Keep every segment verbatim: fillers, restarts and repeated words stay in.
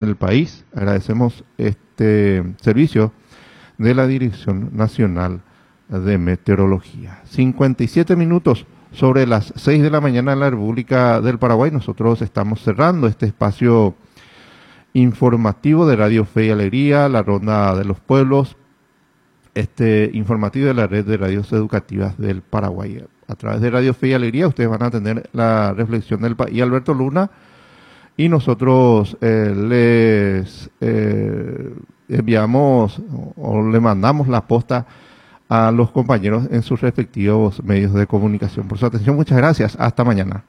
El país. Agradecemos este servicio de la Dirección Nacional de Meteorología. cincuenta y siete minutos sobre las seis de la mañana en la República del Paraguay. Nosotros estamos cerrando este espacio informativo de Radio Fe y Alegría, la Ronda de los Pueblos, este informativo de la Red de Radios Educativas del Paraguay. A través de Radio Fe y Alegría ustedes van a tener la reflexión del país Alberto Luna y nosotros eh, les eh, enviamos o le mandamos la posta a los compañeros en sus respectivos medios de comunicación. Por su atención, muchas gracias. Hasta mañana.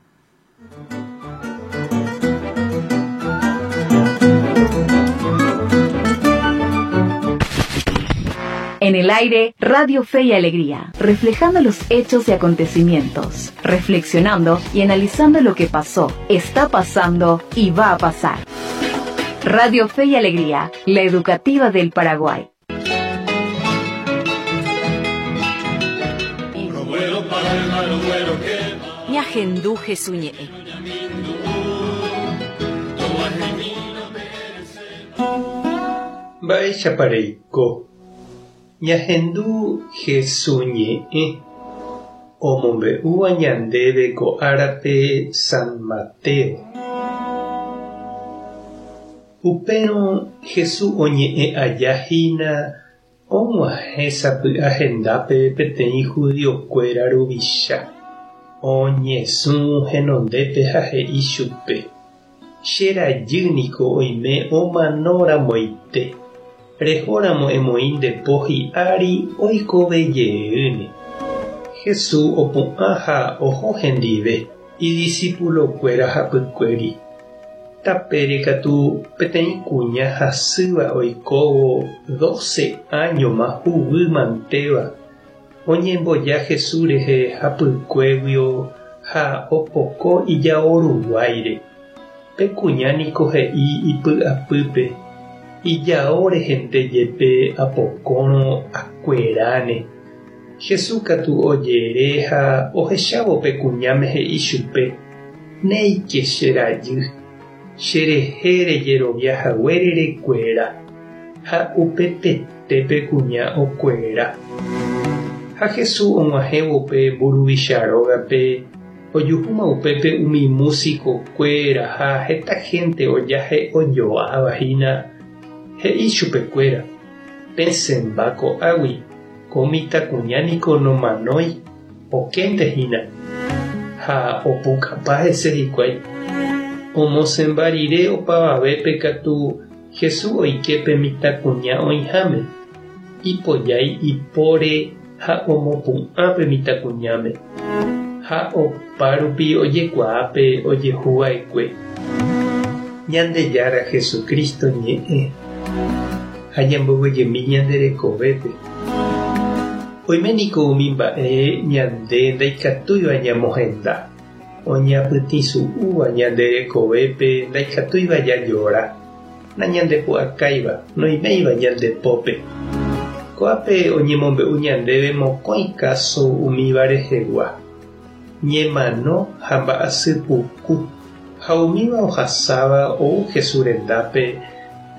En el aire, Radio Fe y Alegría, reflejando los hechos y acontecimientos, reflexionando y analizando lo que pasó, está pasando y va a pasar. Radio Fe y Alegría, la educativa del Paraguay. Ñahendu Jesús ñe'ẽ. Mba'éichapa reiko. Ñahendu Jesús ñe'ẽ omombe'úva ñandéve ko árape San Mateo. Upérõ Jesús oñe'ẽ aja hína og̃uahẽ sapy'a hendápe peteĩ judiokuéra ruvicha. Oñesũ henondépe ha he'i chupe: Che rajy niko oime omanoramoite. Rehóramo emoĩ nde po hi'ári oikovejeýne. Jesús opu'ã ha oho hendive idiscipulokuéra hapykuéri. Tapére katu peteĩ kuña hasýva oikóvo doce áñoma huguy mantéva oñemboja Jesús rehe hapykuéguio ha opoko ijao ruguáire. Pe kuña niko he'i ipy'apýpe: Ijao rehente jepe apokórõ akueráne. Jesús katu ojere ha ohechávo pe kuñáme he'i chupe: Néike che rajy, cherehe rejeroviahaguére rekuera. Ha upepete pe kuña okuera. Ha Jesús og̃uahẽvo pe mburuvicha rógape ojuhúma upépe umi músico-kuéra ha heta gente ojahe'ojoavahína. He'i chupekuéra: Pesẽmba ko'águi, ko mitãkuña niko nomanói, okéntehína. Ha opukapa hese hikuái. Omosẽmba rire opavavépe katu Jesús oike pe mitãkuña oĩháme. Ipojái ipóre ha omopu'ã pe mitãkuñáme. Ha opárupi ojekuaa pe ojehuva'ekue. Ñandejára Jesucristo ñe'ẽ ha ñamboguejymi ñande rekovépe. Oime niko umi mba'e ñande ndaikatúiva ñamohenda. Oñapytĩsu'úva ñande rekovépe ndaikatúiva jajora. Nañandepu'akáiva, noiméiva ñande pópe. Ko'ápe oñemombe'u ñandéve mokõi káso umíva rehegua. Ñemano ha mba'asypuku ha umíva ohasáva ou Jesús rendápe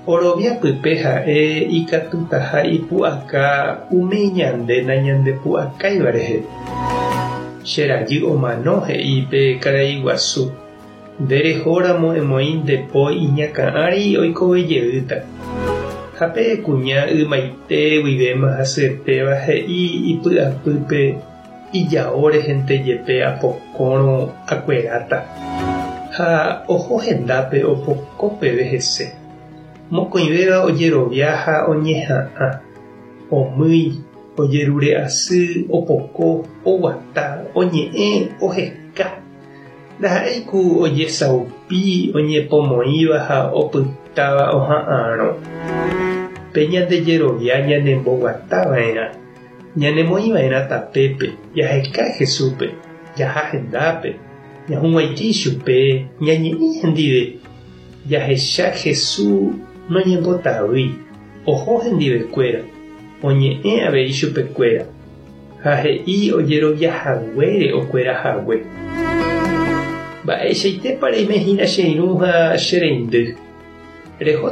orovia pype ha'e ikatutaha ipu'aka umi ñande nañandepu'akáiva rehe. Che rajy omano he'i pe karai guasu. Nde rehóramo emoĩ nde po iñakã ári oikovejeýta. Ha pe kuña ymaite guivéma hasyetéva he'i ipy'apýpe ijao rehente jepe apokórõ akueráta. Ha oho hendápe opoko peve hese. Mokõivéva ojerovia ha oñeha'ã. Omýi, ojerure'asy, opoko, oguata, oñe'ẽ, oheka. Ndaha'éi ku ojesaupi oñepomoĩva ha opytáva oha'ãrõ. Pe ñandejerovia ñanemboguatava'erã. Ñanemoĩva'erã tapépe, jaheka Jesúspe, jaha hendápe, ñahug̃uaitĩ chupe, ñañe'ẽ hendive. Jahecha Jesús noñembotavýi, oho hendivekuéra, oñe'ẽ avei chupekuéra ha he'i ojeroviahaguére okuerahague. Mba'eichaitépa reime hína che irũ ha che reindy. Reho